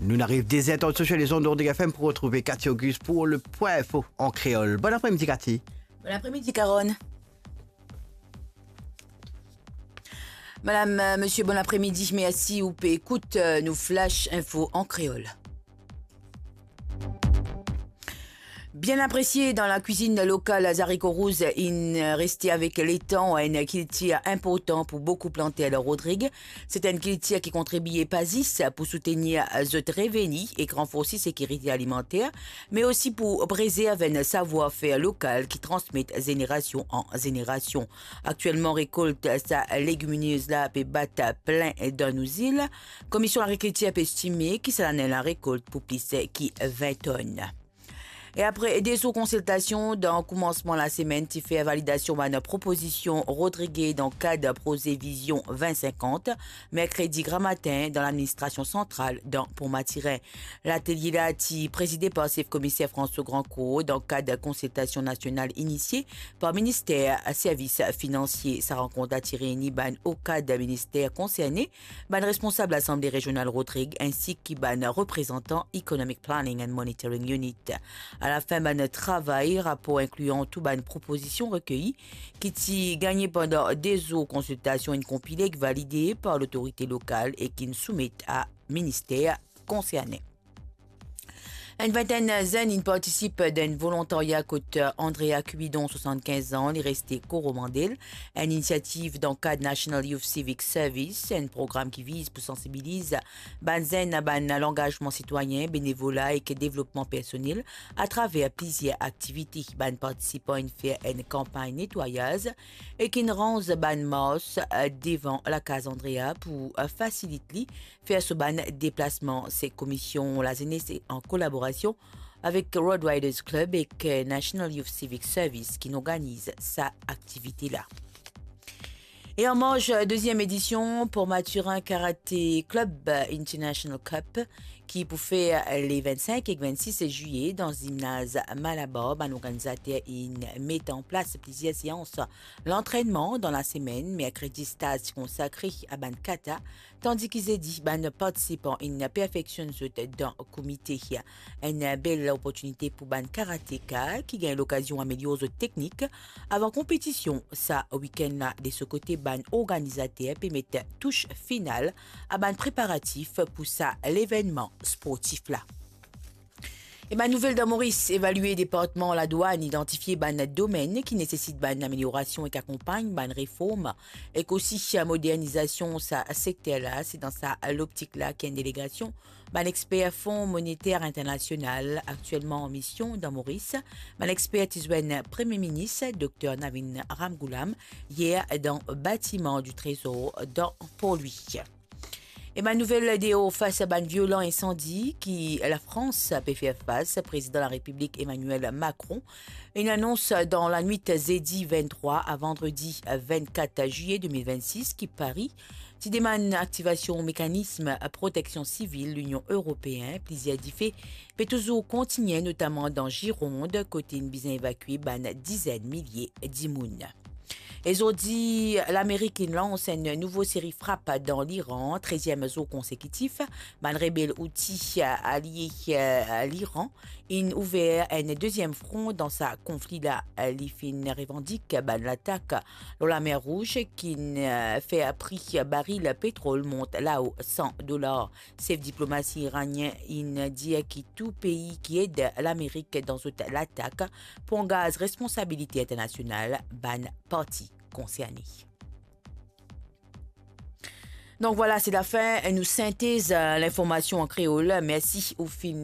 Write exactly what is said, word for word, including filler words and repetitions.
Nou'nn ariv de zer tan sou les ondes d'Ordig F M pou retrouve Cathy Auguste pour le point info en créole. Bon après-midi, Cathy. Bon après-midi, Caron. Madame, euh, monsieur, bon après-midi. Mersi ou pe ekout, euh, nou Flash Info en créole. Bien apresie dan lakwizinn lokal, zariko rouz inn reste avek letan enn kiltir inportan pou boukou planter dan Rodrig. Se enn kiltir ki kontribie pa zis pou soutenir zot reveni ek ranforse sekirite alimanter, me osi pou prezerv enn savwar-fer lokal ki transmet zenerasion an zenerasion. Aktielman, rekolt sa legiminez la pe bat plin dan nou zil. Komisyon Lagrikiltir pe estime ki sa lane la rekolt pou plis ki vin tonn. E apre de zour konsiltasion, dan koumansman lasemenn, ti fer validasion bann propozision Rodrig dan kad proze Vizion vin sinkant, merkredi gramatin, dan ladministrasion santral dan Pont Matirin. Latelie la ti prezide par sef komiser François Grandcourt dan kad konsiltasion nasional inisie par minister servis finansie. Sa rankont la ti reyni bann o kad minister konserne, bann responsab Lasanble Rezional Rodrig, insi ki bann reprezantan Economic Planning and Monitoring Unit. Alafin bann travay, rapor inklian tou bann propozision rekeyi ki ti gagne pandan de zour konsiltasion inn konpile ek valide par lotorite lokal e ki inn soumet a minister konserne. Enn vintenn zenn inn partisip dan enn volontarya kot Andrea Cubidon, swasann-kinz an, li reste Coromandel, enn inisiativ dan kad National Youth Civic Service, enn program ki viz pou sansibiliz bann zenn a bann langazman sitwayin, benevola ek devlopman personel atraver plizier aktivite. Bann partisipan inn fer enn kanpagn netwayaz ek inn ranz bann mars, eh, devan lakaz Andrea pou, eh, fasilit li fer so bann deplasman. Se Komisyon Lazenes an kolaborasion avek Road Riders Club ek National Youth Civic Service ki'nn organiz sa aktivite la. E an marz deziem edision Port Mathurin Karate Club International Cup ki pou fer le vinn-sink ek vinn-sis ziye dan zimnaz Malabar, bann organizater inn met an plas plizier seans lantrennman dan lasemenn. Merkredi, staz ti konsakre a bann kata, tandis ki zedi, bann partisipan inn perfeksionn zot dan komite. Enn bel loportinite pou bann karateka ki gagn lokazion amelior zot teknik avan konpetision sa wikenn la. De so kote, bann organizater pe met tous final a bann preparatif pou sa levennman sportif la. E bann nouvel dan Moris, evalie departman ladwann, idantifie bann domenn ki nesesit bann ameliorasion ek akonpagn bann reform ek osi modernizasion sa sekter la. Se dan sa loptik la ki enn delegasion bann exper Fon Moniter Internasional, aktielman an mision dan Moris. Bann exper ti zwenn Premie Minis Dokter Navin Ramgoolam yer dan batiman di Trezor dan Port Louis. E bann nouvel deor, fas a bann violan insandi ki Lafrans pe fer fas, Prezidan Larepiblik Emmanuel Macron inn anons dan lanwit zedi vinn-trwa a vandredi vinn-kat ziye de mil vinn-sis ki Pari ti demann aktivasion mekanism proteksion sivil Linion Eropeen. Plizier dife pe touzour kontigne, notaman dan Gironde, kote inn bizin evakue bann dizenn milie dimoun. E zordi, Lamerik inn lans enn nouvo seri frap dan Liran, treziem zour konsekitif. Bann rebel Houthi alie, eh, Liran inn ouver enn deziem fron dan sa konfli la. Li finn revandik bann latak lor Lamer Rouz ki'nn, eh, fer pri baril petrol mont lao san dolar. Sef diplomasi iranien inn dir ki tou pei ki ed Lamerik dan zot latak pou angaz responsabilite internasional bann parti konserne. Donk vwala, se lafin nou sintez, eh, linformasion an kreol. Mersi ou finn